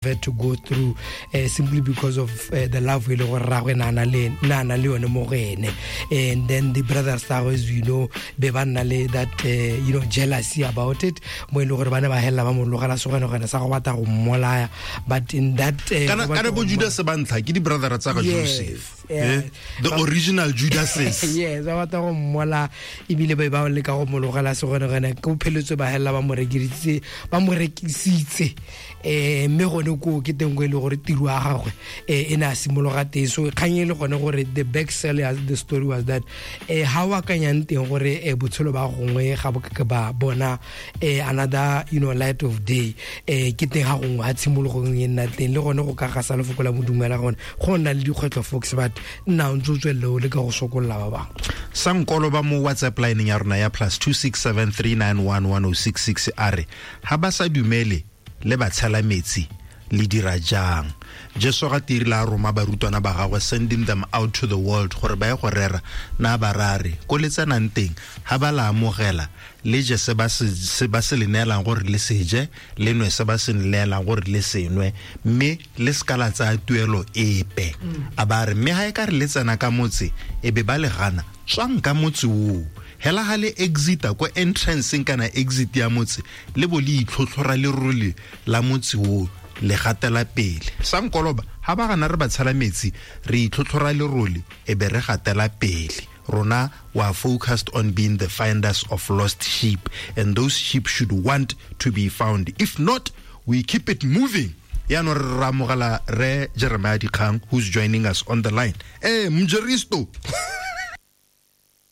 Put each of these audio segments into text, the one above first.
Had to go through simply because of the love e le gore rragwe na na le yone mo go ene. And then the brothers tsa gagwe, as you know, be ba nna le that jealousy about it, mo e le gore ba ne ba helela ba mo logela segwenegwene sa go batla go mmolaya. But in that Kana bo Judas ba ntlha ke di-brother tsa ga Joseph. The original Judases. Yes, ba batla go mmola, ebile ba ba leka go mo logela segwenegwene, ko pheletswe ba helela ba mo rekisitse, ba mo rekisitse. Mme gone ko ke teng ko e le gore tiro ya gagwe e ne a simologa teng. So kgang e le gone gore the back sell ya the story was that ha o akanyang teng gore botshelo ba gongwe ga bo ke ba bona another light of day, ke teng ga gongwe ha tshimologong e nna teng, le gone go ka gasa lefoko la modumela gone go nna le dikgwetlho, folks, but nna o ntse o tswelele o leka go sokolola ba bangwe. Sankolo ba mo WhatsApp line ya rona ya +2673911066 a re ha ba sa dumele le ba tshela metsi le dira jang. Jesu ga tiri la roma barutwana ba gagwe, sending them out to the world gore ba ye go rera, na ba rare ko le tsenang teng ha ba la amogela le je se ba se le neelang gore le se je, le nwe se ba se neelang gore le se nwe, mme le se ka la tsaya tuelo epe. A ba re mme ha e ka re le tsena ka motse e be ba le gana, tswang ka motse oo, hela ha le exita ko entranceng kana exit ya motse, le bo le itlhotlhora lerole la motse oo, le gatela pele. Sankoloba ha ba gana re ba tshela metsi, re itlhotlhora lerole e be re gatela pele. Rona we are focused on being the finders of lost sheep, and those sheep should want to be found. If not, we keep it moving. Yaanong re ramogela re Jeremiah Dikgang, who's joining us on the line. Mjeristo.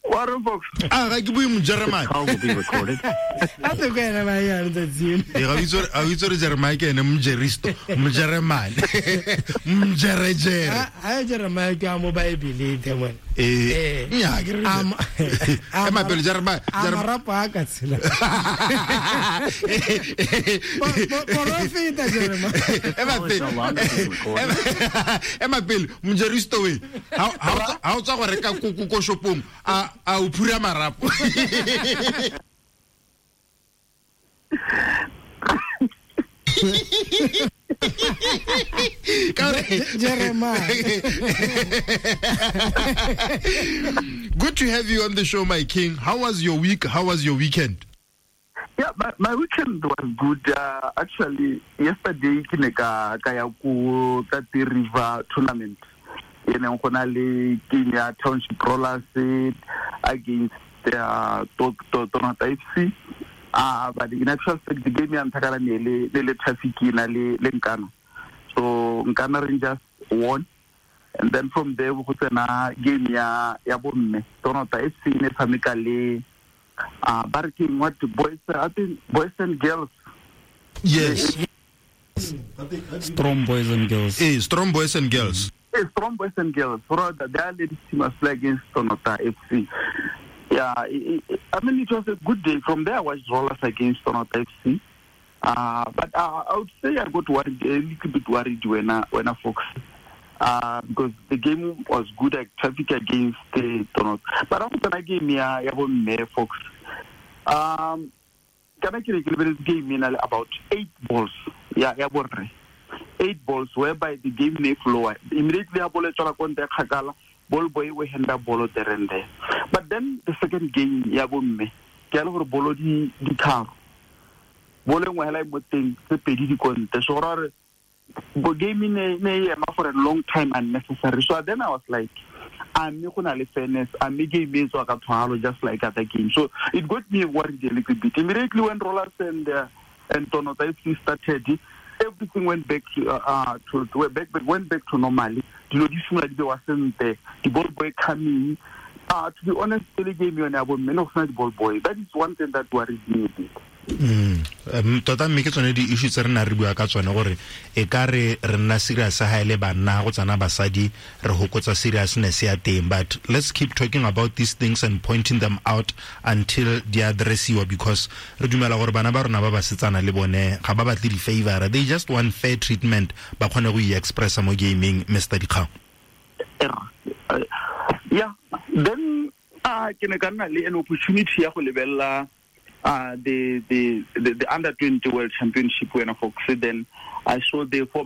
Warren Fox. Ah, ga ke bue Mojeremane. Call will be recorded. A te ko ena ba ya letsatsi. Ee, ga o itse gore Jeremiah ke ene Mojeristo, Mojeremane. Mjerejere. Ha Jeremiah ke a mo Bible the mone. Ee. Nnyaa, ke re Ema pele, Jeremiah, A marapo a ka tshela. Porofeta Jeremiah. Ema pele. Ema pele, Mojeristo we. Ha o tswa go reka koko ko shopong, a o phura marapo. Jeremiah. Good to have you on the show, my king. How was your week? How was your weekend? Yeah, my weekend was good. Actually, yesterday ke ne ka ya ko Tati River tournament. E neng go na le game ya Township Rollers against Tonota FC. But in actual fact, the game ya ntlha kana ne le traffic na le Nkana. So Nkana Rangers won, and then from there go tsena game ya bomme. Tonota FC ne tshameka le barking what boys, I think boys and girls. Yes. Strong boys and girls. Strong boys and girls. Strong boys and girls. Rather, their ladies team was playing against Tonota FC. Yeah, I mean, it was a good day. From there, I watched Rollers against Tonota FC. But I would say I got worried, a little bit worried when I focused. Because the game was good at traffic against the Tonota. But after the game, yeah, Fox. Can I game in about 8 balls? Yeah, 8 balls, whereby the game may flow. Immediately, I ball ball boy we hand up ball there and there. But then the second game, ya bomme, ke le gore bolo di tharo. Bolo engwe hela e mo teng, tse pedi di konte. So gore bo game ne ema for a long time unnecessary. So then I was like, a mme go na le fairness, a mme game e tswa ka tshwaro just like other games. So it got me worried a little bit. Immediately when Rollers and Tonota FC started, everything went back to went back to normally. Dilo di simolola di bewa sentle, di ball boy coming. To be honest, pele game yone ya bomme ne go sena di ball boy. That is one thing that worries me a bit. Tota mme ke tsone di-issue tse re nna re bua ka tsone gore e ka re re nna serious ha e le banna go tsana basadi re hokotsa seriousness ya teng, but let's keep talking about these things and pointing them out until di addressiwa, because re dumela gore bana ba rona ba basetsana le bone ga ba batle di-favor, they just want fair treatment, ba kgone go i-expressa mo gaming. Mr. Dikgang. Yeah, then ke ne ka nna le an opportunity ya go lebelela The under 20 World Championship when Fox, then I saw the 4